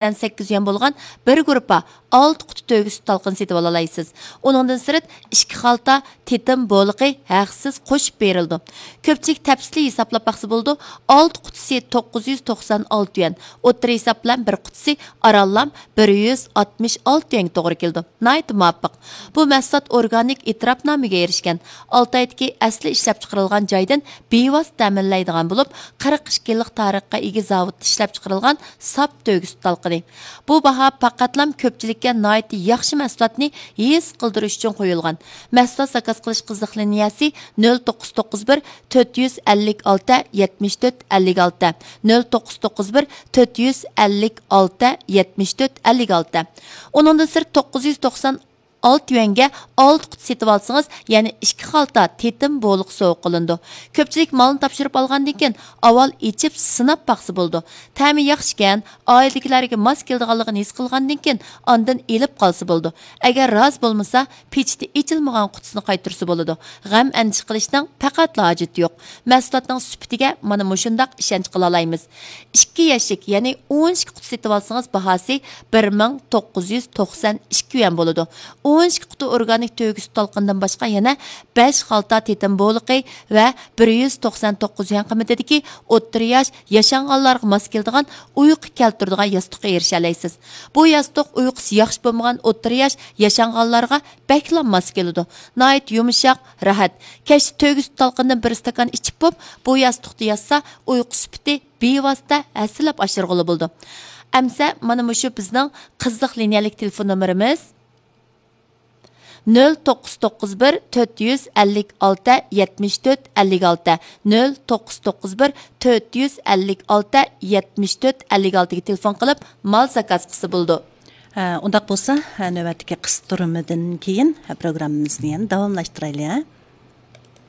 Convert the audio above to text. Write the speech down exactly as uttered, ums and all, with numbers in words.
سەككىز يۈەن بولغان بىر گۇرۇپپا ئالتە قۇتا تۆگە سۈت تالقىنى سېتىۋالالايسىز. ئۇنىڭدىن سىرت، ئىككى خالتا تېتىم بولىقى ھەقسىز قوشۇپ بېرىلىدۇ. كۆپچىلىك تەپسىلىي ھېسابلاپ باقسا بولىدۇ، ئالتە قۇتىسى توققۇز يۈز توقسان ئالتە يۈەن، ئوتتۇرا ھېساب بىلەن بىر قۇتىسى ئارانلا بىر يۈز ئاتمىش ئالتە يۈەنگە توغرا كېلىدۇ. ناھايىتى مۇۋاپىق. بۇ مەھسۇلات ئورگانىك ئېتىراپنامىگە ئېرىشكەن، ئالتايدىكى ئەسلى ئىشلەپچىقىرىلغان جايدىن بىۋاسىتە تەمىنلەيدىغان بولۇپ، قىرىق ئىككى يىللىق تارىخقا ئىگە زاۋۇتتا ئىشلەپچىقىرىلغان ساپ تۆگە سۈت تالقىنى. بۇ باھا پەقەتلام كۆپچىلىككە ناھايىتى ياخشى مەھسۇلاتنى ھېس قىلدۇرۇش ئۈچۈن قويۇلغان. مەھسۇلات زاكاز قىلىش قىزىق لىنىيەسى نۆل توققۇز توققۇز بىر، تۆت يۈز ئەللىك ئالتە، يەتمىش تۆت، ئەللىك ئالتە، نۆل توققۇز توققۇز بىر، تۆت يۈز ئەللىك ئالتە، يەتمىش تۆت، ئەللىك ئالتە. ئۇنىڭدىن سىرت، توققۇز يۈز توقسان ئالتە يۈەنگە ئالتە قۇتا سېتىۋالسىڭىز، يەنە ئىككى خالتا تېتىم بولىقى سوۋغا قىلىنىدۇ. كۆپچىلىك مالنى تاپشۇرۇپ ئالغاندىن كېيىن ئاۋۋال ئىچىپ سىناپ باقسا بولىدۇ. تەمى ياخشىكەن، ئائىلىدىكىلەرگە ماس كېلىدىغانلىقىنى ھېس قىلغاندىن كېيىن ئاندىن ئېلىپ قالسا بولىدۇ. ئەگەر رازى بولمىسا، پېچىتى ئېچىلمىغان قۇتىسىنى قايتۇرسا بولىدۇ. غەم ئەندىشە قىلىشنىڭ پەقەتلا ھاجىتى يوق. مەھسۇلاتنىڭ سۈپىتىگە مانا مۇشۇنداق ئىشەنچ قىلالايمىز. ئىككى يەشىك، يەنى ئون ئىككى قۇتا سېتىۋالسىڭىز، باھاسى بىر مىڭ توققۇز يۈز توقسان ئىككى يۈەن بولىدۇ. ئون ئىككى قۇتا ئورگانىك تۆگە سۈت تالقىنىدىن باشقا يەنە بەش خالتا تېتىم بولىقى ۋە بىر يۈز توقسان توققۇز يۈەن قىممىتىدىكى ئوتتۇرا ياش ياشانغانلارغا ماس كېلىدىغان ئۇيقۇ كەلتۈرىدىغان ياستۇققا ئېرىشەلەيسىز. بۇ ياستۇق ئۇيقۇسى ياخشى بولمىغان ئوتتۇرا ياش ياشانغانلارغا بەكلا ماس كېلىدۇ. ناھايىتى يۇمشاق، راھەت. كەچتە تۆگە سۈت تالقىنىدىن بىر ئىستاكان ئىچىپ بوپ، بۇ ياستۇقتا ياتسا، ئۇيقۇ سۈپىتى بىۋاسىتە ھەسسىلەپ ئاشۇرغىلى بولىدۇ. ئەمسە مانا مۇشۇ بىزنىڭ قىزىق لىنىيەلىك تېلېفون نومۇرىمىز. نۆل توققۇز توققۇز بىر، تۆت يۈز ئەللىك ئالتە، يەتمىش تۆت، ئەللىك ئالتە، نۆل توققۇز توققۇز بىر، تۆت يۈز ئەللىك ئالتە، يەتمىش تۆت، ئەللىك ئالتىگە تېلېفون قىلىپ مال زاكاز قىلسا بولىدۇ. ھە، ئۇنداق بولسا، ھە، نۆۋەتتىكى قىستۇرمىدىن كېيىن، ھە، پروگراممىمىزنى يەنە داۋاملاشتۇرايلى، ھە؟